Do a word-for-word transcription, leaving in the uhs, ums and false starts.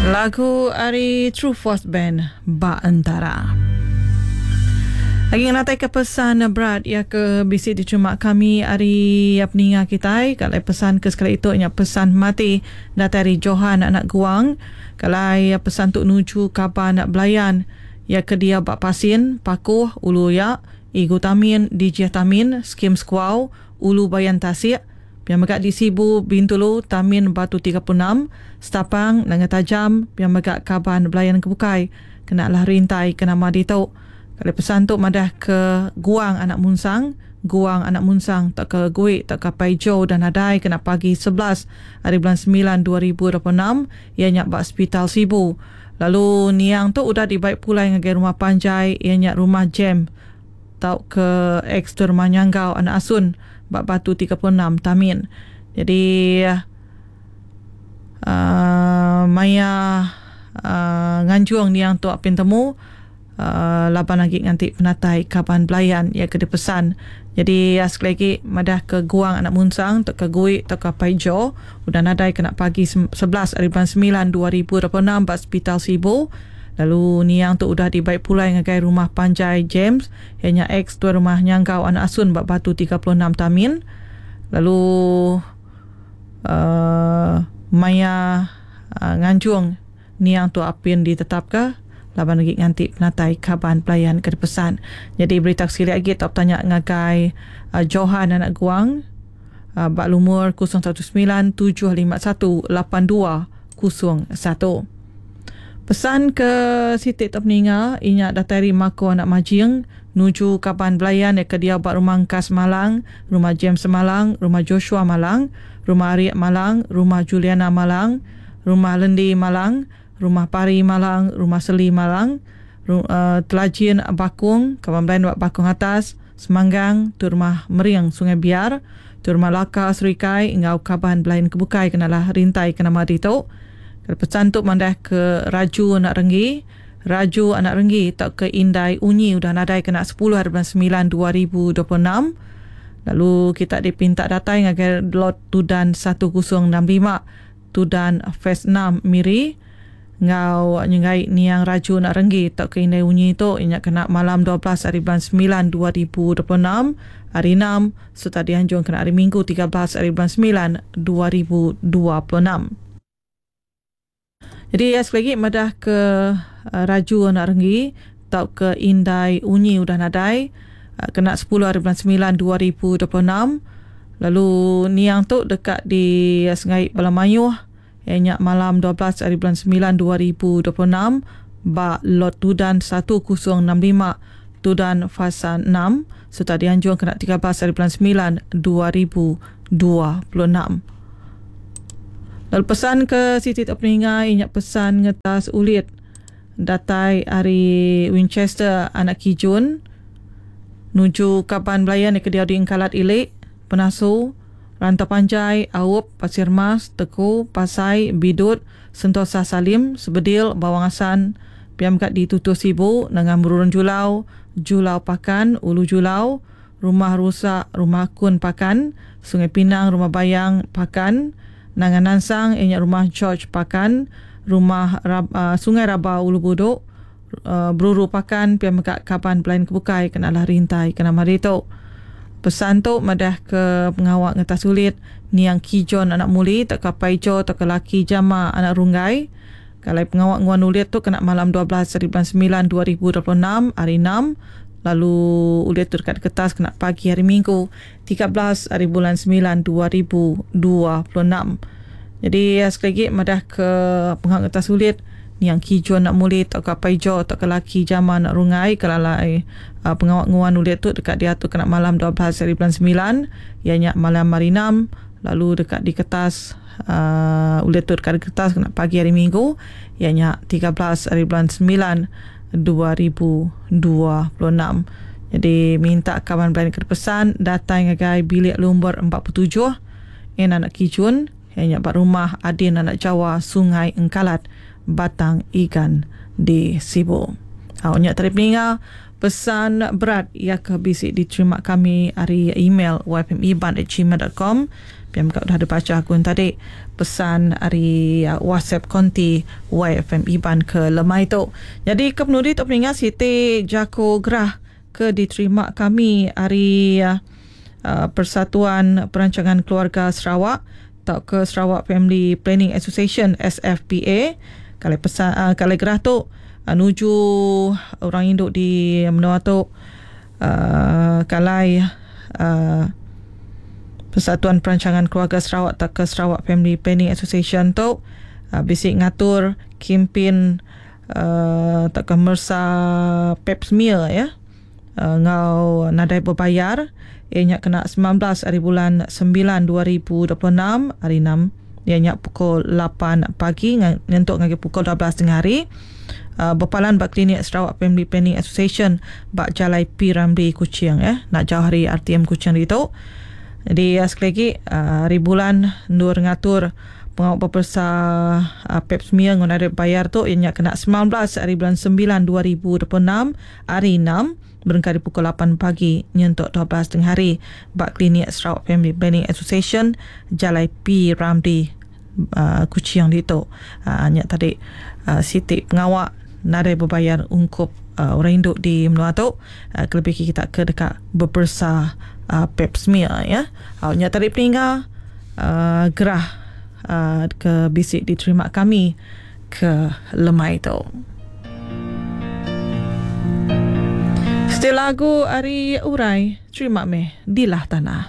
Lagu ari True Force Band Ba Entara. Lagi ngenatai ke pesan berat ya ke bisi diterima kami ari peninga kitai. Kalau pesan ke sekali itu nya pesan mati datai ari Johan anak Guang. Kalau pesan tu nuju kaban belayan ya ke dia bak Pasin, Pakuh, Ulu Ya, Igu Tamin, Dijih Tamin, Skim Sekuau, Ulu Bayan Tasik, pia mega di Sibu, Bintulu, Tamin Batu tiga puluh enam, Setapang, Nanga Tajam, pia mega kaban belayan kebukai kena lah rintai ke nama ditu. Kalau pesan tu madah ke Guang anak Munsang, Guang anak Munsang tak ke Gui tak ke Paijo dan nadai kena pagi sebelas hari bulan sembilan dua ribu dua puluh enam ia nya bak Hospital Sibu. Lalu niang tu udah dibaik pulai ngagai rumah panjai ia nya rumah Jem tau ke ex tu rumah Nyanggau anak Asun bak Batu tiga puluh enam Tamin. Jadi uh, maya uh, nganjung niang tu apin temu Uh, laban lagi nganti penatai kaban belayan ia ke dipesan. Jadi uh, sekali lagi madah ke Guang anak Munsang tak ke Gui tak ke Paijo udah nadai kena pagi sebelas hari bulan sembilan dua ribu dua puluh enam ba Hospital Sibu. Lalu niang tu udah dibaik pulai ngagai rumah panjai James ianya ex tuan rumah Nyanggau anak Asun ba Batu tiga puluh enam Tamin. Lalu uh, maya uh, nganjung niang tu apin ditetapka laban lagi nganti penatai kaban pelayan ke dipesan. Jadi berita sekali lagi top tanya ngagai uh, Johan anak Guang uh, bak lumur kosong satu sembilan tujuh lima satu lapan dua kosong satu. Pesan ke Siti Top Ninga inya datai ari Mako anak Majing nuju kaban belayan ke dia bak rumah Kas Malang, rumah James Malang, rumah Joshua Malang, rumah Ariak Malang, rumah Juliana Malang, rumah Lendi Malang, rumah Pari Malang, rumah Seli Malang, ru, uh, Telajin Bakung, kaban belayan bak Bakung Atas, Semanggang, tu rumah Meriang Sungai Biar, tu rumah Laka Serikai, ngau kaban belayan kebukai kenalah rintai ke nama ditu. Kalau pesan tu mandah ke Raju anak Renggi, Raju anak Renggi tak ke Indai Unyi udah nadai kena sepuluh hari bulan sembilan dua ribu dua puluh enam. Lalu kita dipinta datai ngagai lot Tudan satu kosong enam lima, Tudan Phase enam Miri. Ngau nyengai niang Raju nak Renggi tak ke Indai Unyi tu inya kena malam dua belas hari bulan sembilan dua ribu dua puluh enam hari enam serta dianjung kena hari Minggu tiga belas hari bulan sembilan dua ribu dua puluh enam. Jadi ya, sekali lagi madah ke uh, Raju anak Renggi tak ke Indai Unyi udah nadai uh, kena sepuluh hari bulan sembilan dua ribu dua puluh enam. Lalu niang tu dekat di uh, Sungai Balamayuh ianya malam dua belas hari bulan sembilan dua ribu dua puluh enam bak lot Tudan satu kosong enam lima Tudan Fasa enam serta dianjung kena tiga belas hari bulan sembilan dua ribu dua puluh enam. Lalu pesan ke Siti Tok Peninga inya pesan ngetas ulit datai ari Winchester anak Kijun nuju kaban belayan ke dia di Engkalat Ilik Penasu Rantau Panjai, Aup, Pasir Mas, Teku, Pasai, Bidut, Sentosa Salim, Sebedil, Bawang Asan, Piam kat di Tutuh Sibu, Nengah Merurun Julau, Julau Pakan, Ulu Julau, Rumah Rusak, Rumah Kun Pakan, Sungai Pinang, Rumah Bayang Pakan, Nangan Nansang, ianya Rumah George Pakan, Rumah Rab, uh, Sungai Raba Ulu Buduk, uh, Beruru Pakan, Piam kat Kaban Pelayan Kebukai, kenalah rintai kena mari tu. Pesan tu madah ke pengawak ngetas sulit niang Kijon anak Muli tak ke Paijo tak ke laki Jama anak Runggai. Kalau pengawak nguan ulit tu kena malam dua belas hari bulan sembilan dua ribu dua puluh enam hari enam. Lalu ulit tu dekat kertas kena pagi hari Minggu tiga belas hari bulan sembilan dua ribu dua puluh enam. Jadi sekali lagi madah ke pengawak ngetas sulit niang Kijon anak Muli tak ke Paijo tak ke laki Jama anak Rungai. Kalau lai uh, pengawak nguan ulit tu dekat dia tu kena malam dua belas hari bulan sembilan ianya malam hari enam. Lalu dekat di kertas uh, ulit tu dekat di kertas kena pagi hari Minggu ianya tiga belas hari bulan sembilan dua ribu dua puluh enam. Jadi minta kawan belayan ke pesan datang ngagai bilik lumbar empat puluh tujuh en anak Kijun ianya bak rumah Adin anak Jawa Sungai Engkalat Batang Igan di Sibu. Ha, nyak tadi peninga Pesan berat ia ke bisi diterima kami ari email y f m iban at gmail dot com. Piam ka udah dibaca aku tadi pesan ari WhatsApp konti Y F M Iban ke lemai tu. Jadi ke penudi tu peninga Siti Jako Gerah ke diterima kami ari uh, Persatuan Perancangan Keluarga Sarawak atau ke Sarawak Family Planning Association S F P A. Kalau pesan uh, kalau gerah tu uh, nuju orang induk di menua tu uh, kalai uh, Persatuan Perancangan Keluarga Sarawak atau ke Sarawak Family Planning Association tu uh, bisik ngatur kempen uh, tak ke mersa pap smear ya. Uh, ngau nadai berbayar ianya kena sembilan belas hari bulan sembilan dua ribu dua puluh enam hari enam ianya pukul lapan pagi nyentuk ngagai pukul dua belas tengah hari. Uh, berpalan bak klinik Sarawak Family Planning Association bak Jalai P Ramli Kuching ya, nak jauh hari R T M Kuching itu. Jadi uh, sekali lagi uh, hari bulan nur ngatur pengawal pepersa uh, pap smear ngau nadai bayar tu ianya kena sembilan belas hari bulan sembilan dua ribu dua puluh enam hari enam berengkari pukul lapan pagi nyentuk dua belas tengah hari bak klinik Sarawak Family Planning Association Jalai P Ramli uh, Kuching ditu. Uh, nyak tadi uh, Siti pengawak nadai berbayar ungkup uh, orang induk di menua tu uh, kelebih kita ke dekat berpersa uh, pap smear ya. Uh, nyak tadi peninggal uh, gerah uh, ke bisik diterima kami ke lemai tu. Setelah lagu Ari Urai, terima meh dilah tanah.